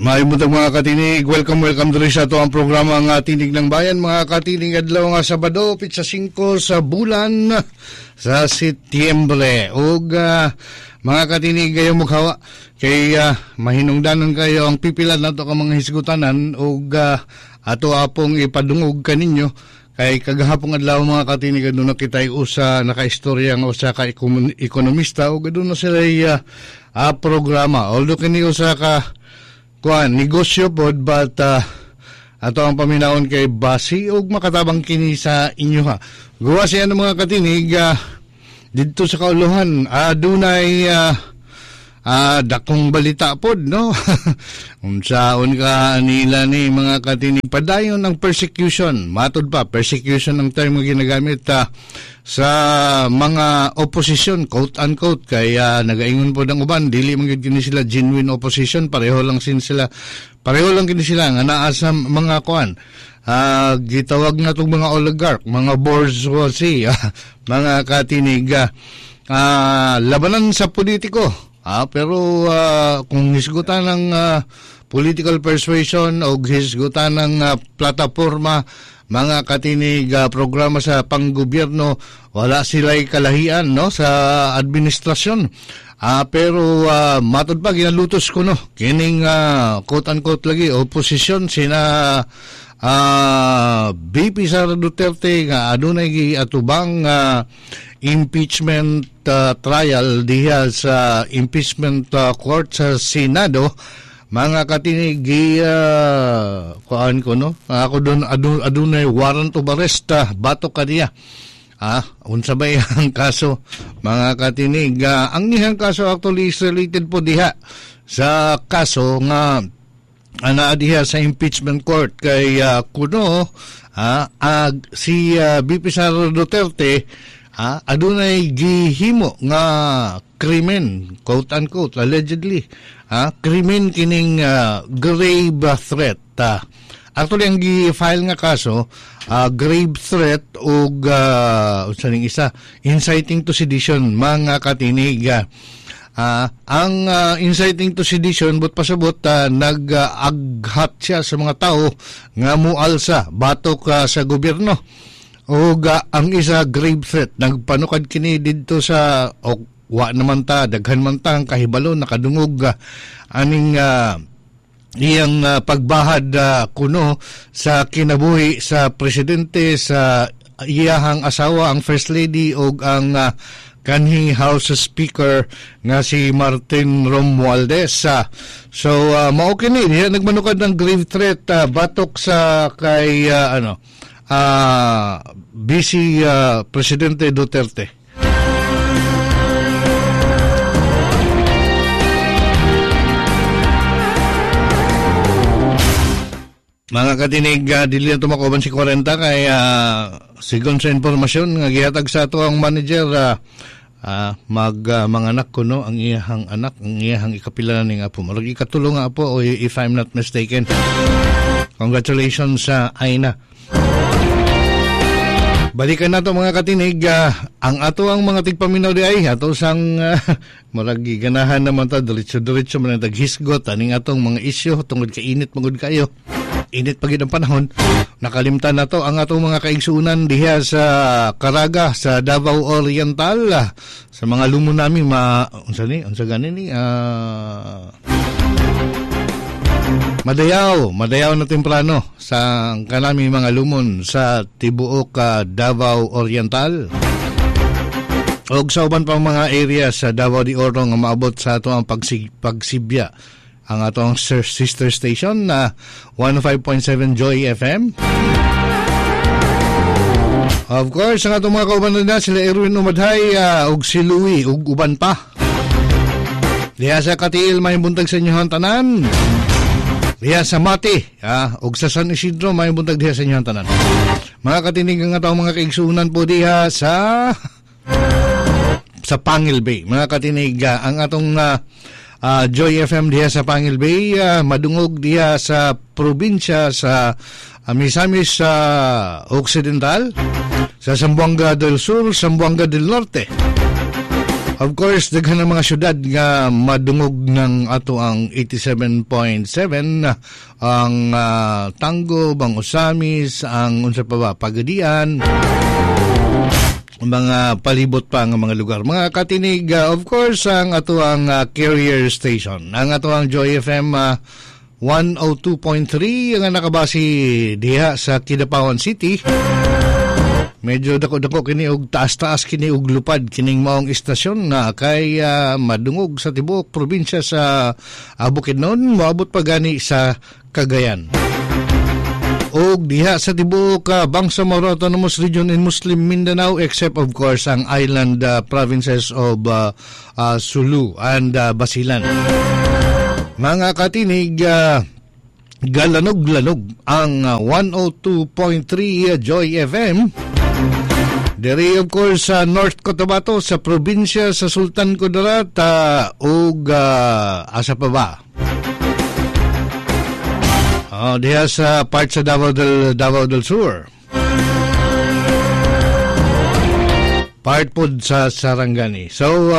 Maayong buntag, mga katinig. Welcome, welcome diri sa ato ang programa nga Tinig ng Bayan. Mga katinig, adlaw nga Sabado, pitsa 5 sa bulan sa Setyembre. Ug mga katinig, kayo mukhawa kay mahinungdanon kayo ang pipilan nato ka mga hisgutanan ug ato apong ipadungog kaninyo kay kagahapong adlaw, mga katinig, aduna kitay usa nakaistorya nga usa ka ekonomista ug aduna sila programa. Although kini usa ka kuan negosyo pod, but ato ang paminawon kay basi og makatabang kini sa inyo ha. Gawa siya ng mga katinig, didto sa kauluhan adunay dakong balita pod, no? Unsaon ka nila ni, mga katinig, padayon ang persecution. Matod pa, persecution ang term nga ginagamit sa mga opposition, quote unquote, kay nagaingon pod ang uban dili man gyud kini sila genuine opposition, pareho lang kini sila nga naa sa mga kuan, gitawag na tong mga oligarch, mga bourgeoisie, mga katinig, labanan sa politiko. Pero kung hisgutan ng political persuasion o hisgutan ng plataforma, mga katinig, programa sa panggobyerno, wala sila'y kalahian, no, sa administrasyon. Pero matod pa, ginalutos ko, no, kining quote unquote lagi oposisyon sina VP Sara Duterte nga adunay giatubang impeachment trial diha sa impeachment court sa Senado, mga katinig, gi kuan ko, no, ako doon adunay warrant of arrest batok kaniya. Unsa ba ang kaso, mga katinig? Ang iyang kaso actually is related po diha sa kaso nga naa diha sa impeachment court kay kuno si VP Sara Duterte adunay gihimo nga krimen, quote unquote, allegedly krimen kining grave threat. Actually, ang gi-file nga kaso, grave threat ug unsa ning isa, inciting to sedition, mga katinig. Ang inciting to sedition, but pasabot nag-aghat siya sa mga tao nga mualsa batok sa gobyerno. Ug ang isa, grave threat, nagpanukad kini didto sa o, wa naman ta, daghan man ta ang kahibalo nakadungog aning iyang pagbahad kuno sa kinabuhi sa presidente, sa iyahang asawa ang first lady ug ang kanhi House Speaker nga si Martin Romualdez. So mao kini diha nagmanukad ng grave threat batok sa kay ano VC Presidente Duterte. Mga katinig, dili na tumakoban si 40 kay sigon sa impormasyon nga gihatag sa ato ang manager, manganak kuno ang iyahang anak, ang iyahang ikapila ning apo. Murag ikatulo nga apo, o if I'm not mistaken. Congratulations sa Aina. Balikan nato, mga katinig, ang ato ang mga tigpaminaw di ay ato sang murag ganahan naman ta diretso-diretso man ang taghisgot aning atong mga isyu tungod kay init magud kayo. Init pa gid ang panahon. Nakalimtan nato ang atong mga kaigsuonan diha sa Caraga, sa Davao Oriental, sa mga lumon nami ma unsa ni, unsa gani ni, madayaw, madayaw na temprano sa kanami mga lumon sa tibuok Davao Oriental. Og sa uban pang mga area sa Davao de Oro nga maabot sa ato ang pagsibya ang atong sister station na 105.7 Joy FM. Of course, ang atong mga kauban na sila Erwin Umadhay ug si Louie ug uban pa. Diha sa Katiil, may buntag sa inyo tanan. Diha sa Mati ug sa San Isidro, may buntag diha sa inyo tanan. Mga katinig, ang atong mga kaigsuonan po diha sa Pangil Bay. Mga katinig, ang atong Joy FM diha sa Pangil Bay, madungog diha sa probinsya sa Misamis Occidental, sa Zamboanga del Sur, Zamboanga del Norte. Of course, daghan ang mga syudad nga madungog ng ato ang 87.7, ang Tanggob, ang Ozamiz, ang unsa pa ba, Pagadian, mga palibot pa nga mga lugar. Mga katinig, of course, ang ato ang carrier station, ang ato ang Joy FM 102.3 nga nakabase diha sa Kidapawan City. Medyo dako-dako kini og taas-taas kini og lupad kining maong istasyon na kay madungog sa tibuok probinsya sa Bukidnon, moabot pa gani sa Cagayan. Og diha sa tibuok Bangsamoro Autonomous Region in Muslim Mindanao, except of course ang island provinces of Sulu and Basilan. Mga katinig, galanog-lanog ang 102.3 Joy FM. Diri of course sa North Cotabato, sa probinsya sa Sultan Kudarat, ug asa pa ba? Oh, diha sa part sa Davao del Sur. Part pod sa Sarangani. So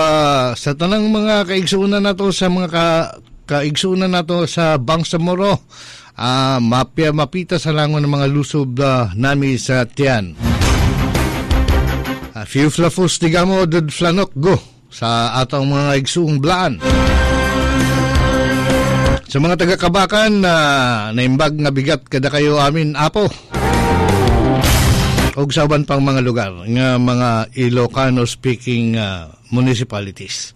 sa tanang mga kaigsuonan nato, sa mga kaigsuonan nato sa Bangsamoro, mapia mapita sa langon ng mga lusob nami sa tiyan. Few flafus digamo dud flanok go sa atong mga igsuong blaan. Sa mga taga-Kabakan, naimbag nga bigat kada kayo amin apo. Og sa uban pang mga lugar nga mga Ilocano speaking municipalities.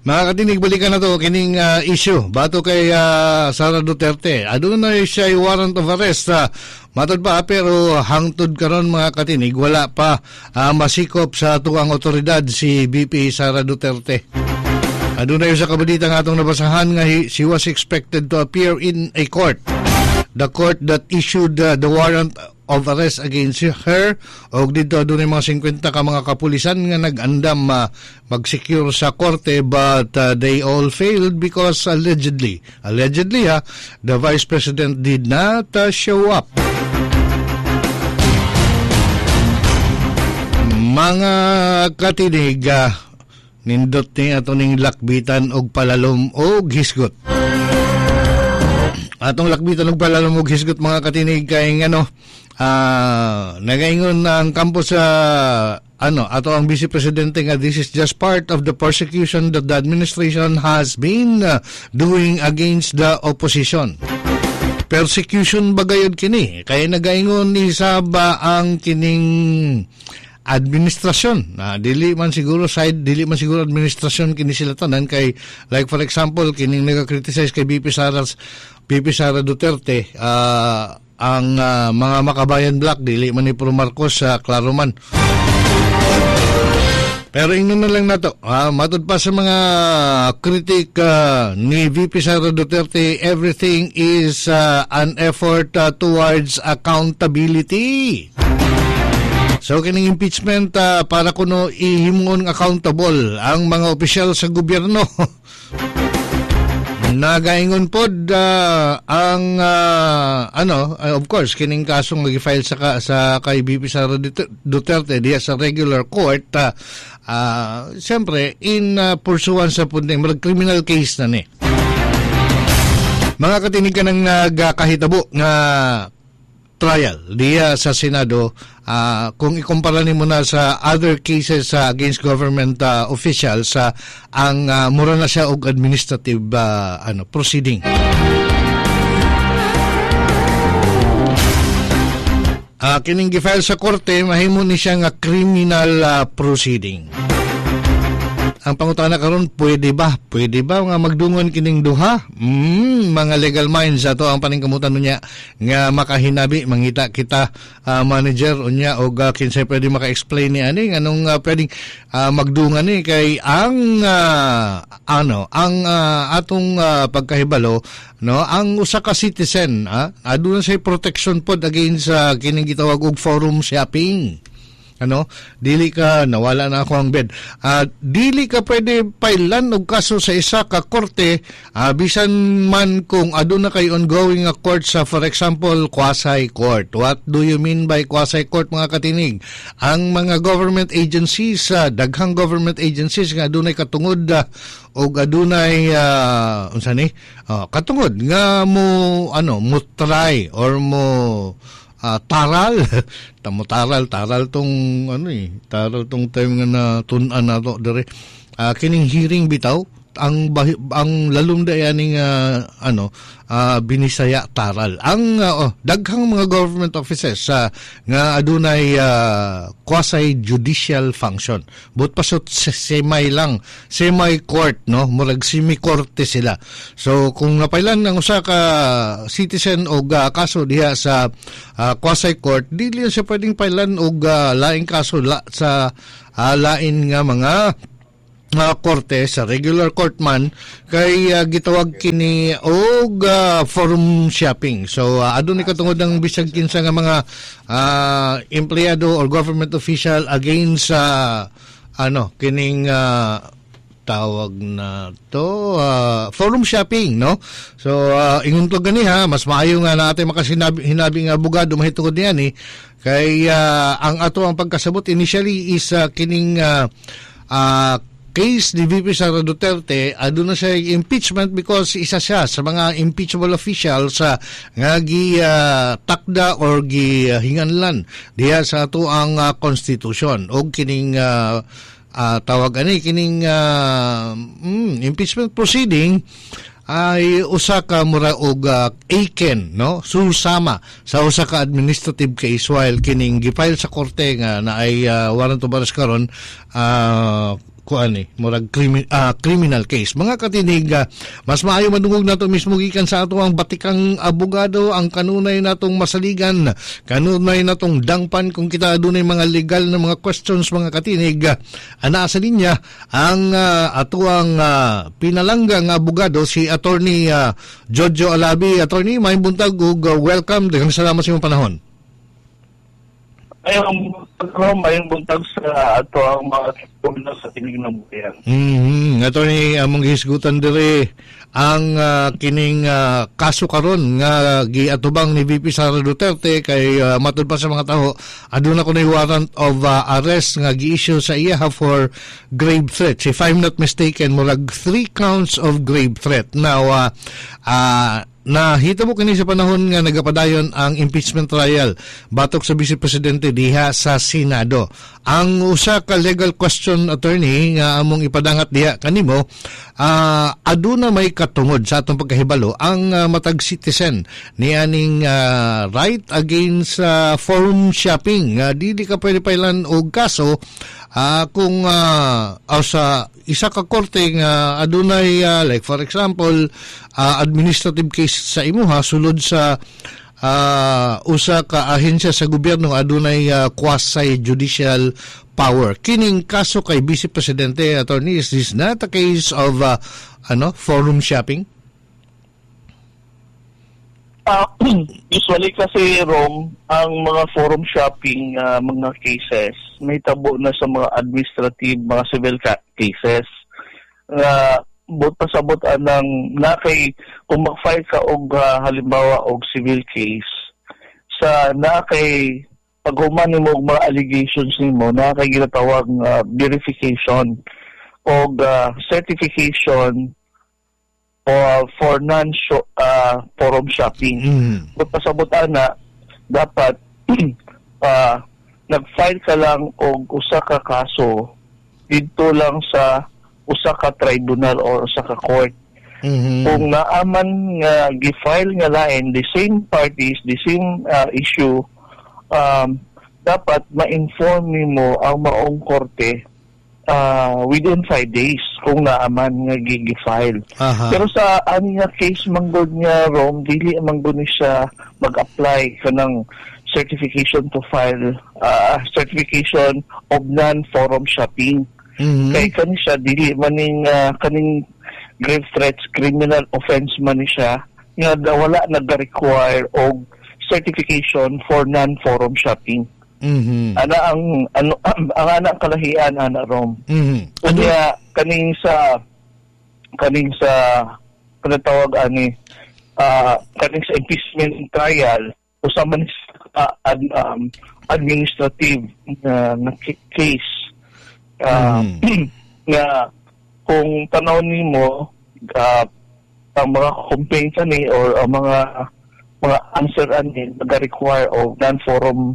Mga katinig, balikan na to kining issue bato kay Sara Duterte. Aduna siya warrant of arrest. Matod pa, pero hangtod karon mga katinig, wala pa masikop sa tuang otoridad si BP Sara Duterte. Aduna sa kabalita nga atong nabasahan nga she was expected to appear in a court. The court that issued the warrant of arrest against her, og dito adunay mga 50 ka mga kapulisan nga nag-andam mag-secure sa korte, but they all failed because allegedly the vice president did not show up. Mga katinig, nindot ni ato ning lakbitan og palalom og hisgot. Atong lakbitan og palalom og hisgot, mga katinig, kay ngano nagaingon na ang kampo sa ato ang vice presidente nga this is just part of the persecution that the administration has been doing against the opposition. Persecution ba gayud kini? Kay nagaingon ni Saba ang kining administrasyon. Dili man siguro side, dili man siguro administrasyon kini sila tanan, kay like for example kining naga-criticize kay BP Sara Duterte, ang mga Makabayan Black dili man ni Pro Marcos, klaro man. Pero ingnon na lang nato, matud pa sa mga critic ni VP Sara Duterte, everything is an effort towards accountability. So kining impeachment para kuno ihimon accountable ang mga opisyal sa gobyerno. Nagaingon pod ang of course kining kasong gi-file sa kay BP Sara Duterte diya sa regular court, siyempre in pursuance sa punding criminal case na ni. Mga katinig, ka nang nagkahitabo nga trial diya sa Senado, kung ikumpara nimo na sa other cases against government officials, ang mura na siya og administrative proceeding. Kining gi-file sa korte, mahimo ni siya nga criminal proceeding. Ang pangutana karon, pwede ba? Pwede ba nga magdungon kining duha? Mga legal minds ato ang paningkamutan niya nga makahinabi, mangita kita manager unya og kinsay pwede maka-explain ni ani nganong pwedeng magdungan ni, kay ang ang atong pagkahibalo, no, ang usa ka citizen aduna say protection pod against kining gitawag og forum shopping. Ano, dili ka, nawala na ako ang bed. Dili ka pwede pailan og kaso sa isa ka korte, bisan man kung aduna kay ongoing nga court sa, for example, quasi court. What do you mean by quasi court, mga katinig? Ang mga government agencies, daghang government agencies nga adunay katungod og adunay unsa ni katungod nga mo ano, mo try or mo taral tamo, taral, taral tong ano eh, taral tong time nga na tun-an nato dire, kining hearing bitaw, ang lalom da aning ano, Binisaya, taral ang oh, daghang mga government offices sa nga adunay quasi judicial function, but pasot semi lang, semi court, no, murag semi korte sila. So kung napailan ng usa ka citizen og kaso diha sa quasi court, dili siya pwedeng pailan og laing kaso sa lain nga mga korte, sa regular court man, kay gitawag kini og forum shopping. So adunay katungod ang bisag kinsa nga mga empleyado or government official against sa ano kining tawag na to, forum shopping, no? So ingon ko gani ha, mas maayo nga natin makasinabi hinabi nga abogado mahitungod niyan eh, kay ang ato ang pagkasabot initially is kining case ni VP Sara Duterte, aduna siya impeachment because isa siya sa mga impeachable officials nga gi takda or gi hinganlan diha sa ato ang constitution, og kining tawag ani kining impeachment proceeding ay usa ka mura og aken, no, susama sa usa ka administrative case, while kining gifile sa korte nga naay warrant of arrest karon, kuan eh, murag criminal case. Mga katinig, mas maayo madungog nato mismo gikan sa ato ang batikang abogado, ang kanunay natong masaligan, kanunay natong dangpan kung kita adunay mga legal na mga questions, mga katinig. Anaa sa linya ang atuang pinalangga nga abogado, si Attorney Jojo Alabi. Attorney, maayong buntag ug welcome. Daghang salamat sa imong panahon. Ayong buntag, mayong buntag sa ato ang mga tumna sa Tinig ng Bayan. Attorney, among gihisgutan diri ang kining kaso karon nga giatubang ni VP Sara Duterte, kay matud pa sa mga taho aduna kunoy warrant of arrest nga gi-issue sa iya for grave threats. If I'm not mistaken, murag three counts of grave threat. Now, nahitabo kini sa panahon nga nagapadayon ang impeachment trial batok sa Vice Presidente diha sa Senado. Ang usa ka legal question, Attorney, nga among ipadangat diha kanimo, aduna may katungod sa atong pagkahibalo ang matag citizen ni aning right against forum shopping, nga dili ka pwede pailan og kaso kung sa isa ka korte nga adunay like for example, administrative case sa imuha sulod sa usa ka ahensya sa gobyerno adunay quasi judicial power. Kining kaso kay Vice Presidente, Attorney, is this not a case of ano, forum shopping? Usually kasi, Rom, ang mga forum shopping mga cases may tabo na sa mga administrative, mga civil cases. But pasabot anang na kay kung mag-file ka og halimbawa og civil case sa na kay paghuman nimo og mga allegations nimo, na kay ginatawag nga verification og certification or for non forum shopping. But pasabot ana, dapat nag-file ka lang og usa ka kaso didto lang sa usa ka tribunal or usa ka court. Kung naaman nga gi-file nga lain, the same parties, the same issue, dapat ma-inform nimo ang maong korte within 5 days kung naaman nga gi-file. Pero sa ani nga case manggod nga, Rom, dili manggod ni siya mag-apply kanang certification to file, certification of non-forum shopping. Kay kani siya dili maning kaning grave threats, criminal offense man ni siya nga wala nag-require og certification for non-forum shopping. Ana ang ano, ang ana ang kalahian ana, Rom. Ano? Unya kaning sa kanang tawag ani, kaning sa impeachment trial, usa man administrative na case nga kung tanaw nimo ang mga complaints ani or ang mga answer ani naga-require of non-forum,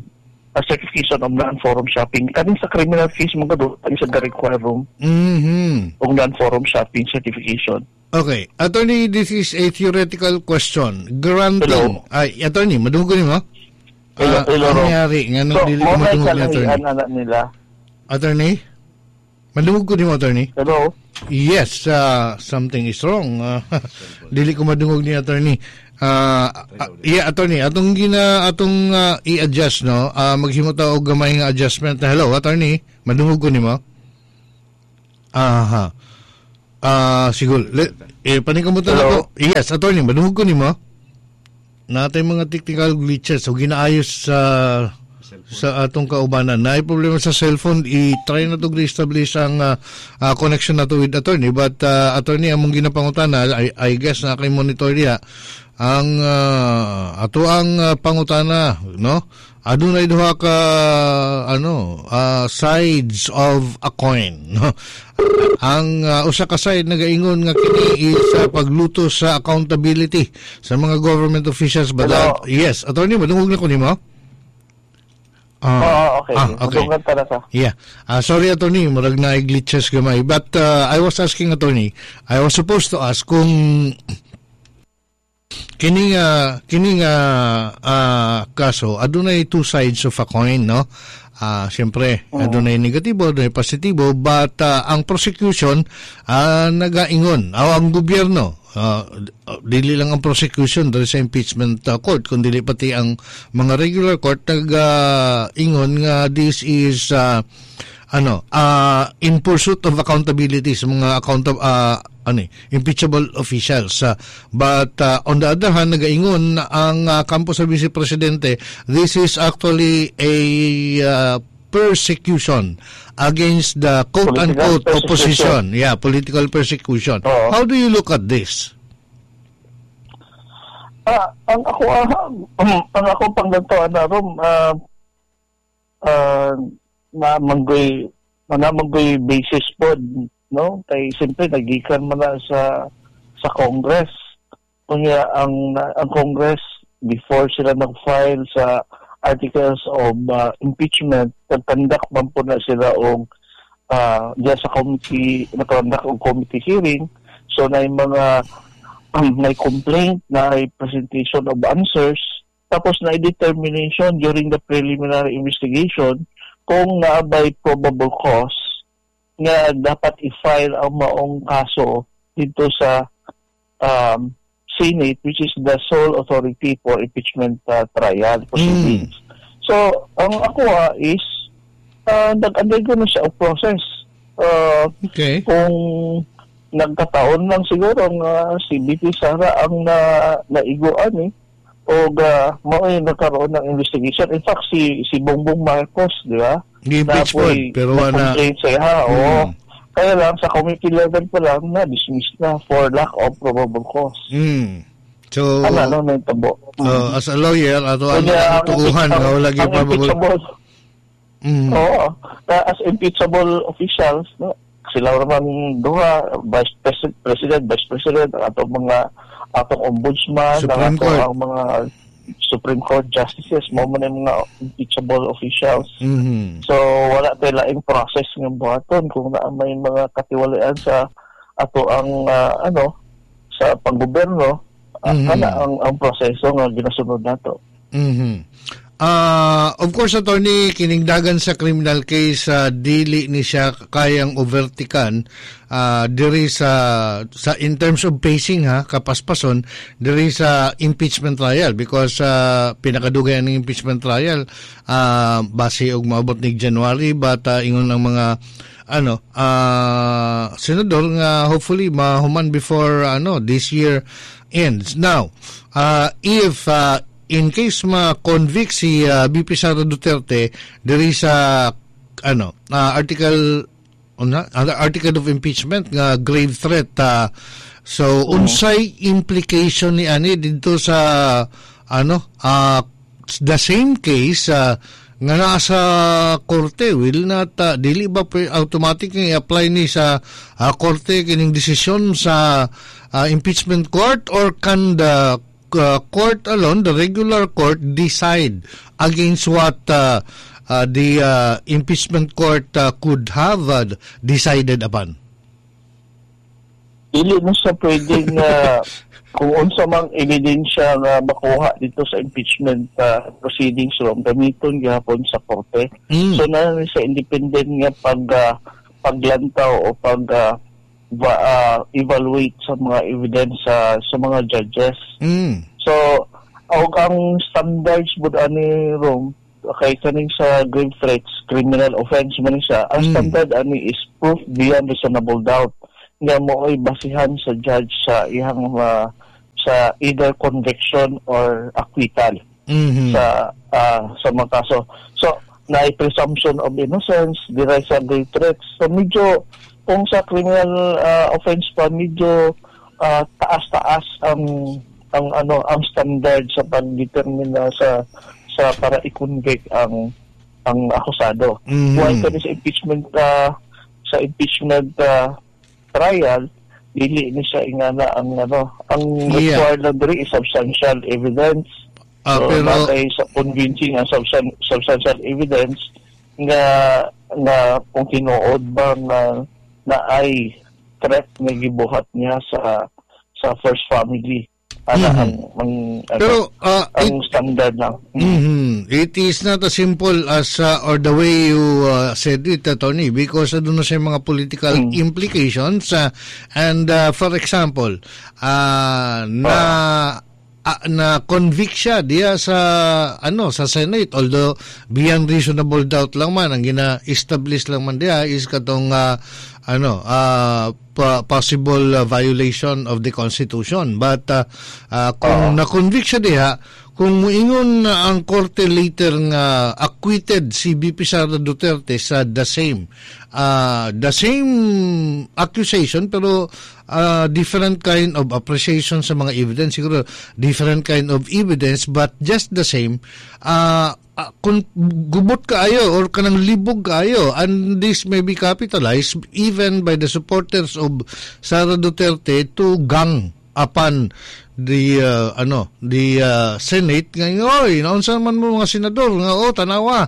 a certification of non-forum shopping. Kaning sa criminal case mga do ang sa require room og non-forum shopping certification. Okay. Attorney, this is a theoretical question. Granting. Hello? Ay, attorney, madungog ko nimo? Hello, Ah, hello, ano Rom. nangyari? Nga nung So, dili ko mo na madungog ni attorney. kalahian ana nila. Attorney? Madungog ko nimo, attorney? Hello? Yes, something is wrong. Dili ko madungog ni attorney. Yeah, attorney, atong i-adjust, no. Maghimo ta og gamay nga adjustment. Hello, attorney, madungog ko nimo? Aha. Siguro. Paningkamutan Hello? ako. Yes, attorney, madungog ko nimo? Natay mga technical glitches so ginaayos sa atong kaubanan. Naay problema sa cellphone, i-try na to reestablish ang connection na to with attorney. But attorney, among ginapangutana, I guess na kay monitor diha, ang ato ang pangutana, no? Adunay duha ka ano, sides of a coin, no? Ang usa ka side nagaingon nga kini is pagluto sa accountability sa mga government officials, but Hello? Yes, attorney, madungog na ko nimo. Oo, okay. Ah, okay. Madungan talaga. Yeah. Sorry, attorney, murag na glitches gamay. But I was asking, attorney, I was supposed to ask kung kini nga kaso adunay two sides of a coin, no? Siyempre, adunay negatibo, adunay positibo, but ang prosecution nagaingon, ang gobyerno, dili lang ang prosecution diri sa impeachment court, kundi pati ang mga regular court nagaingon nga this is ano, in pursuit of accountability sa mga account ano eh, impeachable officials. But on the other hand, nagaingon ang kampo sa Vice Presidente, this is actually a persecution against the quote-unquote Political opposition. Yeah, political persecution. Oo. How do you look at this? Ang ako panglantawan na rom, na manggoy basis pod, no, kay siyempre nagikan man na sa Congress. Kunya ang Congress, before sila nag-file sa articles of impeachment, nag-conduct man po na sila og diya sa committee, nag-conduct og committee hearing. So na yung mga may complaint na presentation of answers, tapos na determination during the preliminary investigation kung naabay probable cause nga dapat i-file ang maong kaso dito sa Senate, which is the sole authority for impeachment trial proceedings. So, ang ako is nag-undergo na siya og process. Kung nagkataon lang siguro nga si VP Sara ang naiguan eh o mao yung nagkaroon ng investigation. In fact, si Bongbong Marcos, di ba? Gi-impeach po, Napoy pero wala na-complaint sa iya, oo. Kaya lang, sa committee level pa lang, na-dismiss na for lack of probable cause. So, Ano, ano, nahitabo. As a lawyer, ato ang Kaya tuuhan nga wala gyud ang probable. impeachable, oo, as impeachable officials, no, sila naman duha, vice president, vice president, ang atong mga atong ombudsman, Supreme ang atong Court. ang mga Supreme Court justices, mo man yung mga impeachable officials. So wala tay laing process nga buhaton kung naa may mga katiwalian sa ato ang ano sa panggobyerno, kana ang proseso nga ginasunod nato. Of course, attorney, kining dagan sa criminal case, dili ni siya kayang overtikan diri sa in terms of pacing ha, kapaspason diri sa impeachment trial because pinakadugay ang impeachment trial, base og maabot ni January, but ingon ng mga ano senador nga hopefully mahuman before ano this year ends. Now, if in case ma-convict si VP Sara Duterte diri sa ano article una, article of impeachment nga grave threat, so unsay implication ni ani didto sa ano the same case nga naa sa korte? Will not dili ba automatic nga i-apply ni sa korte kining desisyon sa impeachment court, or can the court alone, the regular court, decide against what the impeachment court could have decided upon? Dili mo sa pwedeng kung unsa mang ebidensya nga makuha dito sa impeachment proceedings ron, gamiton gihapon sa korte. So na sa independent nga paglantaw o pag evaluate sa mga evidence sa mga judges. So og ang standards bud ani rom kay kaning sa grave threats, criminal offense man siya. Ang standard ani is proof beyond reasonable doubt nga mooy basihan sa judge sa iyang sa either conviction or acquittal sa mga kaso. So naay presumption of innocence dira sa grave threats. So medyo kung sa criminal offense pa, medyo taas-taas ang ano ang standard sa pagdetermine sa para i-convict ang akusado. While kani sa impeachment trial, dili ni siya ingana ang ano, ang required lang diri is substantial evidence. So, pero batay sa convincing ang substantial evidence nga nga kung tinuod ba nga na ay threat nga gibuhat niya sa first family. Ana ang ano, pero ang standard lang. It is not as simple as or the way you said it, Tony, because doon na siya mga political implications and for example, na na convict siya diya sa ano sa Senate, although beyond reasonable doubt lang man ang gina-establish lang man diya is katong ano possible violation of the Constitution, but kung na-convict siya diha, kung muingon na ang korte later nga acquitted si VP Sara Duterte sa the same accusation pero different kind of appreciation sa mga evidence, siguro different kind of evidence but just the same, kung gubot kaayo or kanang libog kaayo, and this may be capitalized even by the supporters of Sara Duterte to gang upon the ano the Senate nga, "Oy, naunsa man mo mga senador nga, oh, tanawa,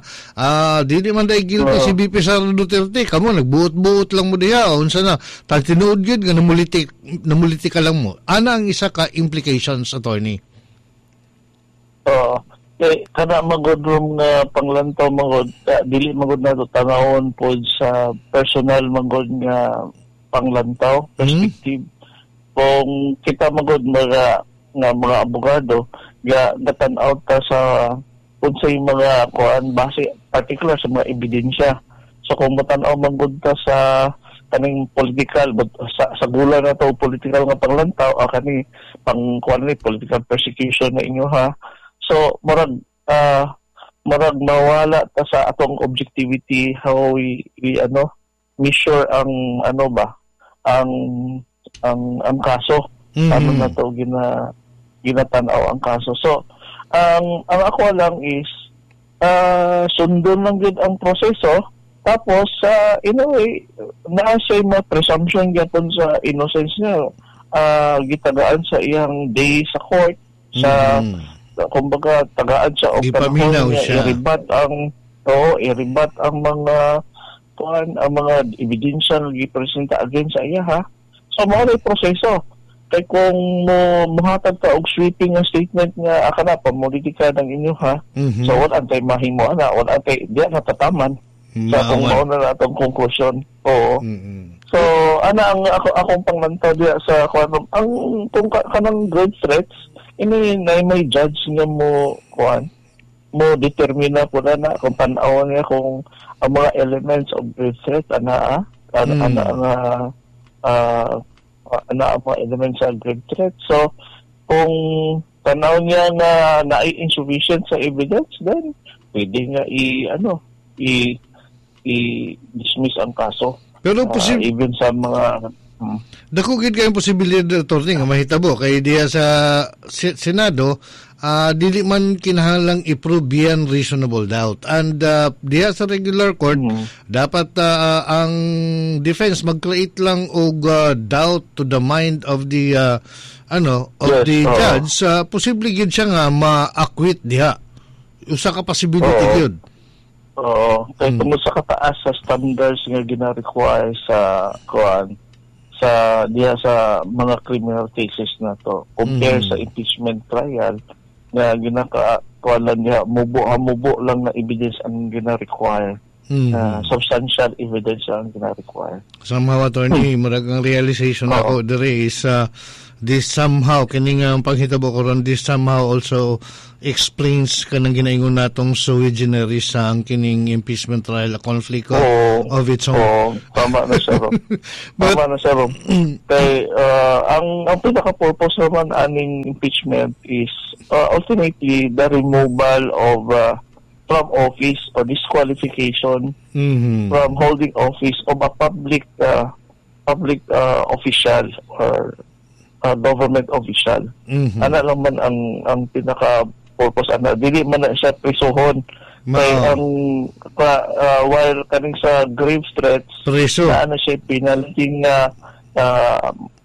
dili man dai guilty si VP Sara Duterte. Kamo nagbuot-buot lang mo diha. Unsa na tag tinuod gyud nga namulitika lang mo." Ana ang isa ka implications, Attorney. Oo. Kay kana magod rom nga panglantaw magod, dili magod nato tanawon pod sa personal magod nga panglantaw perspective. Kung kita magod mga nga mga abogado ga gatan-aw ta sa unsay mga kuan base, particular sa mga ebidensya. So kung matan-aw magod ta sa kaning political, but sa gula na to political nga panglantaw, kani pang kuan ni political persecution na inyo ha. So murag mawala ta sa atong objectivity, how we ano measure ang ano ba ang kaso, ano na to ginatan-aw ang kaso. So ang ako lang is sundon lang gyud ang proseso, tapos sa in a way naa siya mga presumption gyapon sa innocence niya, gitagaan sa iyang day sa court sa kumbaga tagaan siya og Gipaminaw panahon nga siya. I-rebut ang, oo, i-rebut ang mga kuan, ang mga ebidensya nga gipresenta against sa iya ha. So mao na proseso kay kung mo muhatag ka og sweeping nga statement nga akana pamulitika ng inyo ha, so wala tay mahimo ana, wala tay di na tataman sa kung Maawan. Mao na atong conclusion, oo. So ana ang ako akong panglantaw diya sa kuan, ang kung kanang grave threats ini na may judge nga mo kuan mo determine po na na kung tan-aw niya kung ang mga elements of grave threat ana ana ana nga ana ang mga elements sa grave threat. So kung Tanaw niya na naay insufficient sa evidence, then pwede nga i ano i i dismiss ang kaso. Pero Even sa mga Dako gid kayong posibilidad, attorney, nga mahitabo kay diha sa Senado, dili man kinahanglang i-prove beyond reasonable doubt, and diha sa regular court dapat ang defense mag-create lang og doubt to the mind of the ano of the judge. Posible gid siya nga ma-acquit diha, usa ka possibility gyud. Oo, kay tungod sa kataas sa standards nga gina-require sa kuan, sa diha sa mga criminal cases na to compare sa impeachment trial nga ginaka kuan lang diha, mubo hamubo lang na evidence ang gina-require. Substantial evidence ang gina-require. Somehow, attorney, murag ang realization ako dire is this somehow, kini nga ang panghitabo karon, this somehow also explains kanang ginaingon natong sui generis sa ang kining impeachment trial, a conflict of its own. Oo, tama na siya, Rob. Tama na siya, Rob. Kay ang pinaka-purpose naman aning impeachment is ultimately the removal of from office or disqualification from holding office of a public official or government official. Ana lang man ang pinaka purpose ana, dili man na siya prisuhon. Kay ang while kaning sa grave threats Preso. Na ano siya penalty nga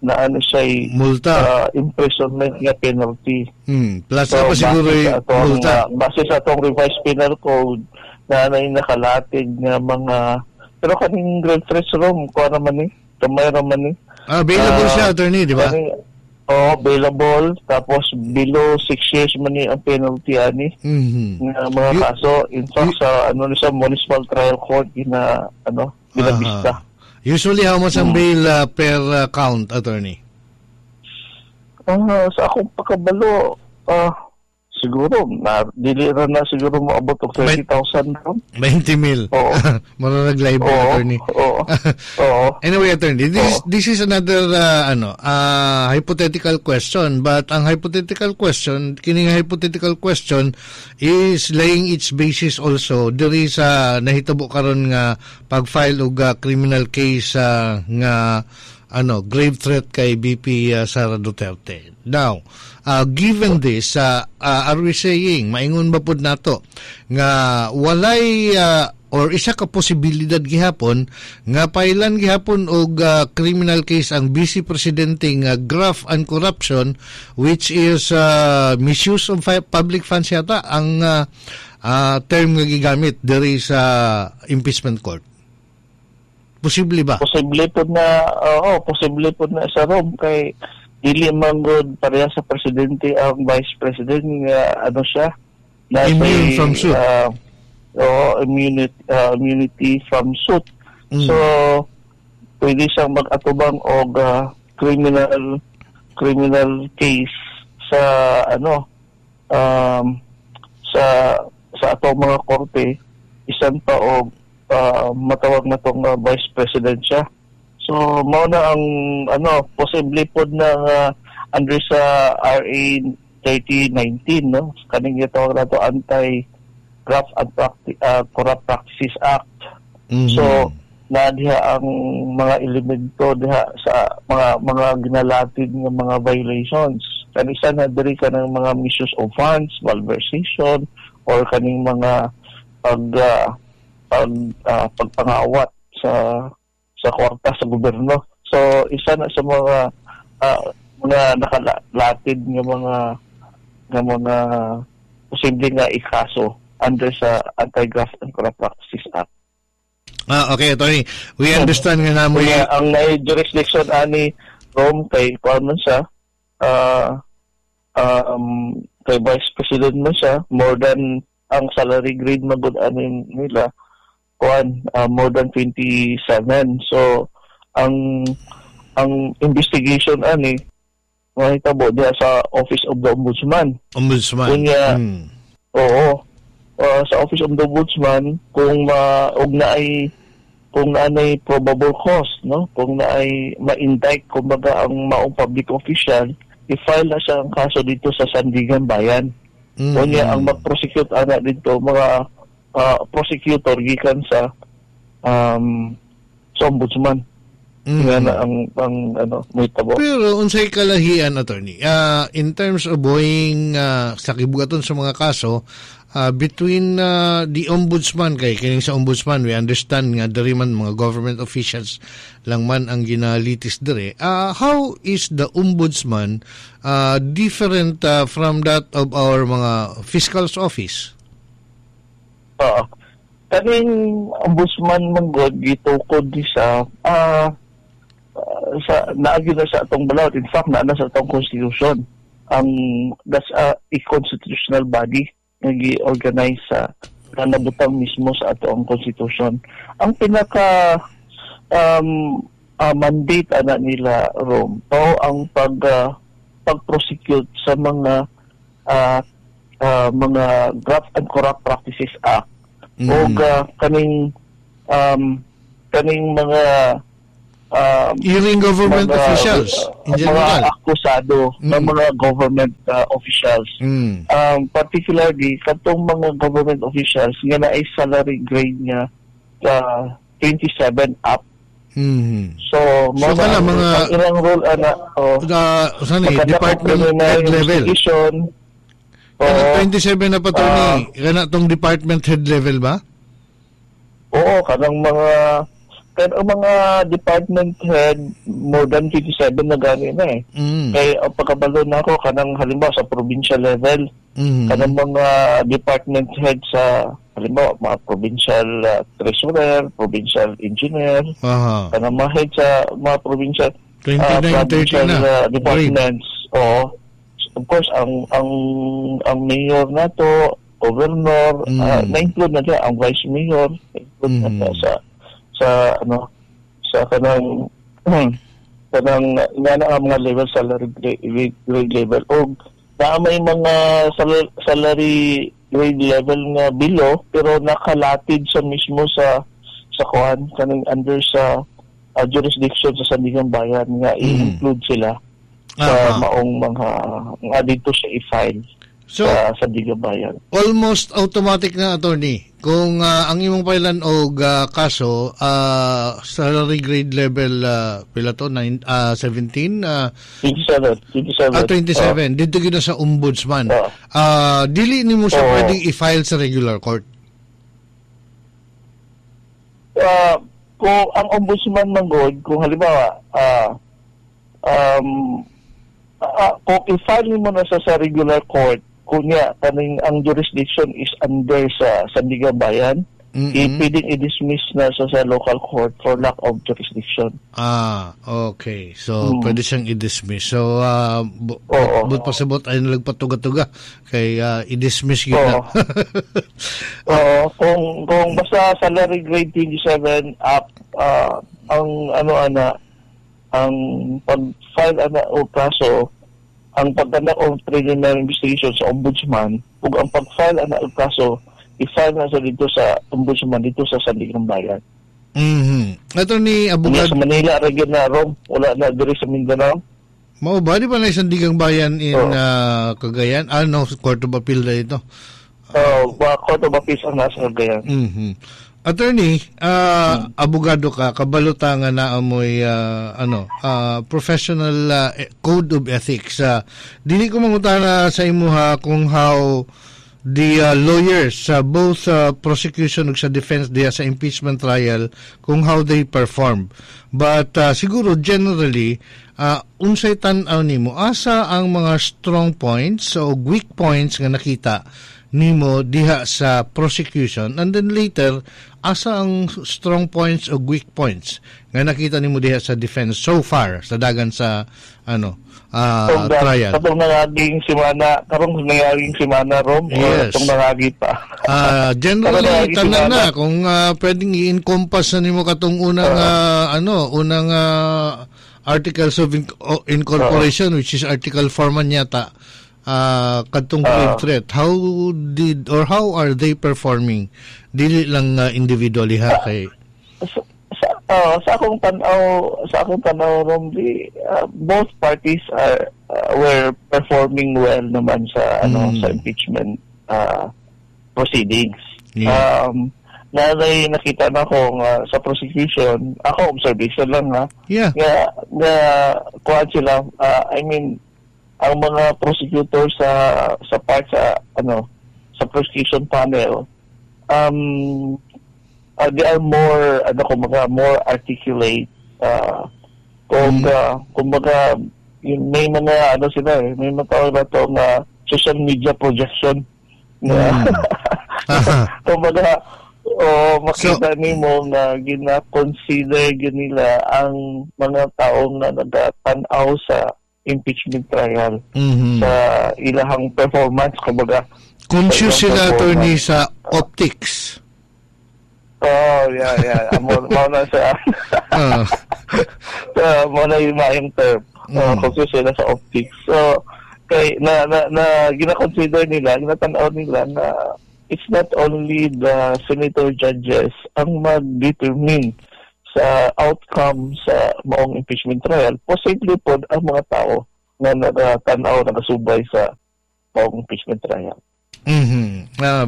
na ano siya Multa. Imprisonment nga penalty. Plus so, pa siguro base sa atong, multa. Base sa atong revised penal code na ano yung nakalatid nga mga, pero kaning grave threats, Rom, kuha naman ni kamay naman ni. Ah, bailable siya, attorney, di ba? Oh, bailable, tapos below 6 years man ni ang penalty ani nga mga kaso. In fact, sa ano ni sa municipal trial court gina ano ginabista. Usually, how much ang bail per count, attorney? Sa akong pagkabalo, siguro na dili ra na siguro moabot og 30,000 ron. 20 mil. Oo. Murag libel, attorney. Oo. Oo. Anyway, attorney, this is another ano, hypothetical question, but ang hypothetical question, kining hypothetical question is laying its basis also diri sa nahitabo karon nga pag-file og criminal case nga ano, grave threat kay VP Sara Duterte. Now, given this, are we saying, maingon ba pud nato nga walay or isa ka posibilidad gihapon nga pailan gihapon og criminal case ang vice presidente nga graft and corruption, which is misuse of public funds yata ang term nga gigamit diri sa impeachment court? Posible ba? Posible po na, oo, posible po na sa Rome kay dili man gud pareha sa presidente ang vice president nga ano siya nasa Immune from suit. Oo, immunity from suit. So pwede siyang mag-atubang og criminal criminal case sa ano sa atong mga korte isan pa og matawag na tong vice president siya. So mao na ang ano, posible pod na under sa RA 3019, no, kaning gitawag nato Anti Graft and Corrupt Practices Act. So na diha ang mga elemento diha sa mga ginalatid nga mga violations. Kanisa na diri ka ng mga misuse of funds, malversation, or kaning mga pag pag pagpangawat sa kwarta sa gobyerno. So isa na sa mga nakalatid nga mga posible nga ikaso under sa Anti-Graft and Corrupt Practices Act. Ah, okay, attorney. We understand nga namo. Kaya ang naay jurisdiction ani, Rome, kay kuan man siya, kay vice president man siya, more than ang salary grade man gud ani nila kuan, more than 27. So ang investigation ani mahitabo diha sa Office of the Ombudsman. Ombudsman. Kunya, oo. Sa Office of the Ombudsman, kung ma og naay kung naanay probable cause, no, kung naay ma-indict kumbaga ang maong public official, i-file na siya ang kaso dito sa Sandiganbayan. Unya ang mag-prosecute ana dito mga prosecutor gikan sa ombudsman. Nga na ang ano mahitabo. Pero unsay kalahian, attorney, in terms of going sa kibugaton sa mga kaso between the ombudsman, kay kining sa ombudsman we understand nga diri man mga government officials lang man ang ginalitis diri. How is the ombudsman different from that of our mga fiscal's office? Oo. Kaning ombudsman man gud gitukod ni sa sa naagi na sa atong balaod. In fact, naa na sa atong constitution. Ang that's a constitutional body nga gi-organize sa na nabutang mismo sa atong constitution. Ang pinaka mandate ana nila, Rom, mao ang pag-prosecute sa mga Graft and Corrupt Practices Act og kaning mga Even government mga, officials in general. Mga akusado ng mga government officials. Particularly katong mga government officials nga naay salary grade nga 27 up. So, So, kana ang ilang role ana, oh, saan eh, maganda department preliminary head level. investigation. Kana Oo. 27 na pa, attorney, kana tong department head level ba? Oo, kanang mga department head more than 27 na gani na eh. Kay ang pagkabalo na ako kanang halimbawa sa provincial level, kanang mga department head sa halimbawa mga provincial treasurer, provincial engineer, kanang mga head sa mga provincial 29, 30 provincial na. Departments. Oo. Of course, ang mayor nato, governor, na-include na siya, ang vice mayor, na-include na siya sa ano sa kanang kanang nga na ang mga level, salary grade level, og naa may mga salary grade level nga below pero nakalatid sa mismo sa kuan kaning under sa jurisdiction sa Sandiganbayan nga i-include sila sa maong mga nga dito sa i-file So, sa Sandiganbayan. Almost automatic na, attorney, kung ang imong pailan og kaso salary grade level pila to, 9, 17 27, 27. Ah, 27, dito gyud na sa ombudsman. Oo. Dili nimo siya Oo. Pwedeng i-file sa regular court? Kung ang ombudsman man gud, kung halimbawa kung i-file mo na sa regular court, kunya kaning ang jurisdiction is under sa Sandiganbayan, pwedeng i-dismiss na sa local court for lack of jurisdiction. Ah, okay. So, pwede siyang i-dismiss. So, but pasabot ay nalagpatuga-tuga kay i-dismiss yun na. Oo. Oo, kung basta salary grade 27 up, ang ano ana ang pag-file ana o kaso, ang pag-conduct of preliminary investigation sa ombudsman ug ang pag-file ana og kaso, i-file na sa dito sa ombudsman dito sa Sandiganbayan. Attorney, Unya abogado, sa Manila ra gyud na, Rom, wala na diri sa Mindanao. Mao ba, di ba na Sandiganbayan in Oo. Cagayan? Ah, no, Court of Appeal na ito. Ba Court of Appeals ang nasa Cagayan. Attorney, abogado ka, kabalo ta nga naa moy ano, professional code of ethics. Dili ko mangutana sa imuha kung how the lawyers sa both prosecution ug sa defense diha sa impeachment trial, kung how they perform. But siguro generally, unsay tan-aw nimo, asa ang mga strong points o weak points nga nakita nimo diha sa prosecution, and then later asa ang strong points o weak points nga nakita nimo diha sa defense so far sa dagan sa ano trial? Katong nangaging simana, karong nangaging simana, Rom, o katong nangagi pa? Generally Katong nangaging tanan simana. Na kung pwedeng i-encompass na nimo katong unang ano unang articles of incorporation, which is article 4 man yata, kadtong grave threat, how did or how are they performing, dili lang individually ha, kay Sa akong tan-aw, Rom, di, both parties are were performing well naman sa ano, sa impeachment proceedings. Na nakita na ko nga sa prosecution, ako observation lang ha. Nga nga kuan sila, I mean, ang mga prosecutor sa part sa ano, sa prosecution panel, they are more ano, kumbaga more articulate, kung kumbaga yung may mga ano sila eh, may mga tawag na to nga social media projection na kumbaga o makita nimo nga gina-consider gyud nila ang mga taong nga nagatan-aw sa impeachment trial sa ilahang performance, kumbaga. Conscious sila, attorney, sa optics. Oh, yeah. Amo mao na sa mao na yung maayong term. Conscious sila sa optics. So, kay na na, na gina-consider nila, ginatan-aw nila na it's not only the senator judges ang mag-determine sa outcome sa maong impeachment trial, posible po ang mga tao na nagatanaw, nagasubay sa maong impeachment trial.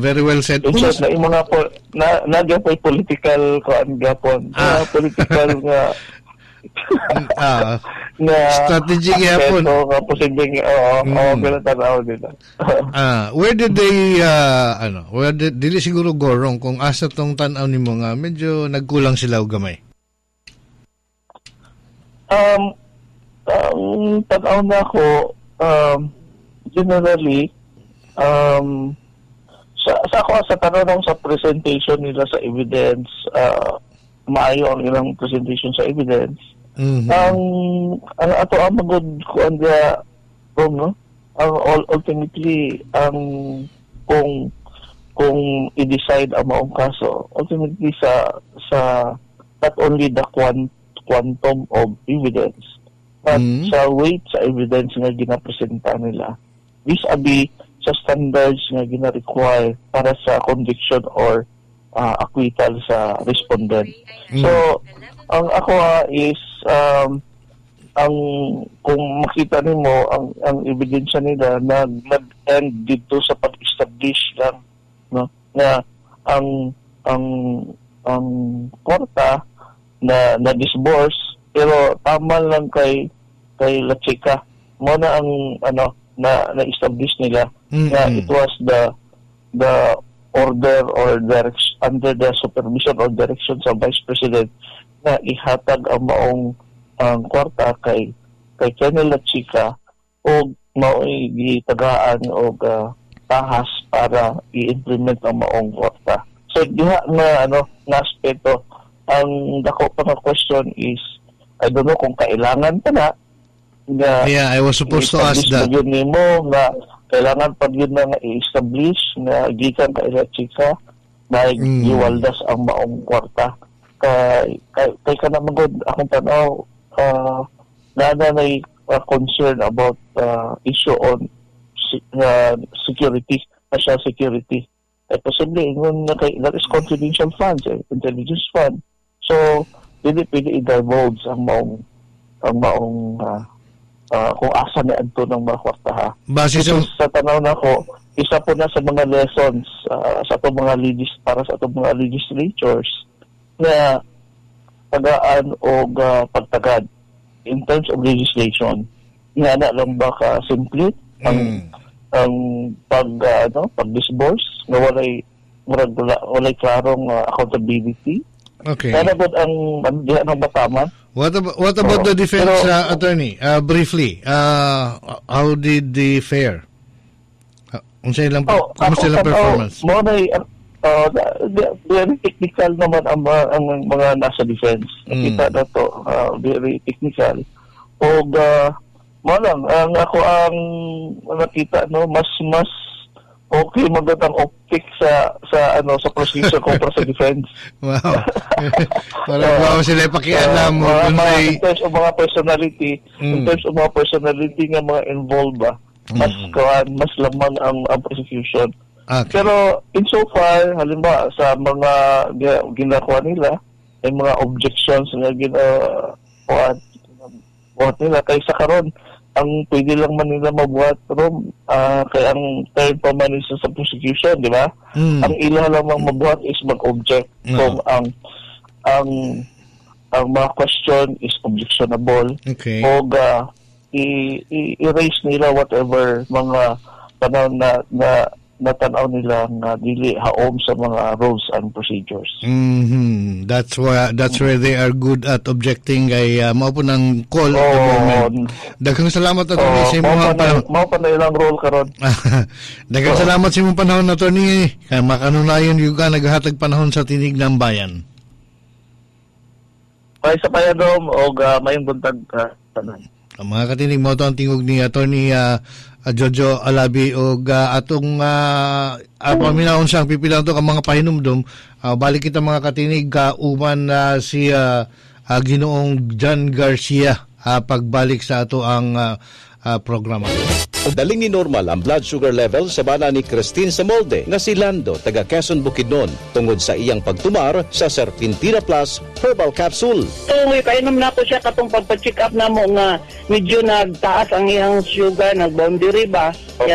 Very well said. In short, na yung mga po, na na political kuan gapon, political nga nga strategy gyapon. Nga posibleng oo, oo, ginatanaw nila. Where did they ano, where did dili siguro go wrong kung asa tong tan-aw nimo nga medyo nagkulang sila og gamay? Ang tan-aw na ako, generally, sa ako sa tanong sa presentation nila sa evidence, maayo ang ilang presentation sa evidence. Ang ato ang magod kuan ga wrong, no? Ang ultimately ang kung i-decide ang maong kaso, ultimately sa not only the quantum of evidence but sa weight sa evidence nga ginapresenta nila vis-a-vis sa standards nga gina-require para sa conviction or acquittal sa respondent. So, ang ako is ang kung makita nimo ang ebidensya nila na nag-end dito sa pag-establish lang, no, na ang kwarta na na-disburse pero tama lang kay La Chica mo na ang ano na na-establish nila na it was the order or direction under the supervision or direction sa Vice President na ihatag ang maong ang kwarta kay Colonel La Chica og mao'y gitagaan og tahas para i-implement ang maong kwarta. So diha nga ano nga aspeto ang dako pa nga question is I don't know kung kailangan pa na nga. Yeah, I was supposed to ask that. Yun nimo nga kailangan pa yun na nga i-establish nga gikan kay La Chica na giwaldas ang maong kwarta. Kay kana man gud akong tan-aw, na may concern about issue on security, national security. Eh, posible ingon na kay that is confidential funds, eh, intelligence fund. So dili pwede i-divulge ang maong kung asa na adto ng mga kwarta ha. Base sa tanaw nako, isa po na sa mga lessons sa atong mga legis para sa atong mga legislatures na tagaan og pagtagad in terms of legislation. Nga na lang ba ka simple ang pag ano pag-disburse nga walay murag walay klarong accountability. Okay. Kana gud ang diha ng bataman. What about the defense, attorney? Briefly, how did they fare? Unsa ilang kumusta ilang performance? Mo na very technical naman ang mga nasa defense. Nakita na to, very technical. Og mo lang ang ako ang nakita, no, mas okay maganda ang optic sa ano sa prosecution kontra sa defense. Wow. Para wow sila pakialam mo in terms of mga personality, in terms of mga personality nga mga involved ba, mas kuan, mas lamang ang prosecution. Pero in so far, halimbawa sa mga ginakuha nila, may mga objections nga ginakuha buhat nila kaysa karon Ang pwede lang man nila mabuhat rom, kay ang third pa man is sa prosecution, di ba? Ang ila lang mang mabuhat is mag-object kung ang mga question is objectionable o i-raise nila whatever mga tanaw na na natanaw nila nga dili haom sa mga rules and procedures. That's where they are good at objecting kay mao po ng call at the moment. Daghang salamat, Attorney, sa imong panahon. Mao pa na ilang role karon. Daghang salamat sa imong panahon, Attorney. Kay makanunayon gyud ka naghatag panahon sa Tinig ng Bayan. May sa payadom og mayong buntag tanan. Ang mga katinig, mo to ang tingog ni Attorney Jojo Alabi og atong paminawon siyang pipilang to ang mga pahinumdum. Balik kita, mga katinig, kauban si Ginoong John Garcia pagbalik sa ato ang programa. Daling ni normal ang blood sugar level sa bana ni Christine Samolde nga si Lando taga Quezon, Bukidnon tungod sa iyang pagtumar sa Serpentina Plus Herbal Capsule. So, may painom na ko siya katong pagpa-check up na mo nga medyo nagtaas ang iyang sugar, nag-boundary ba? Yan.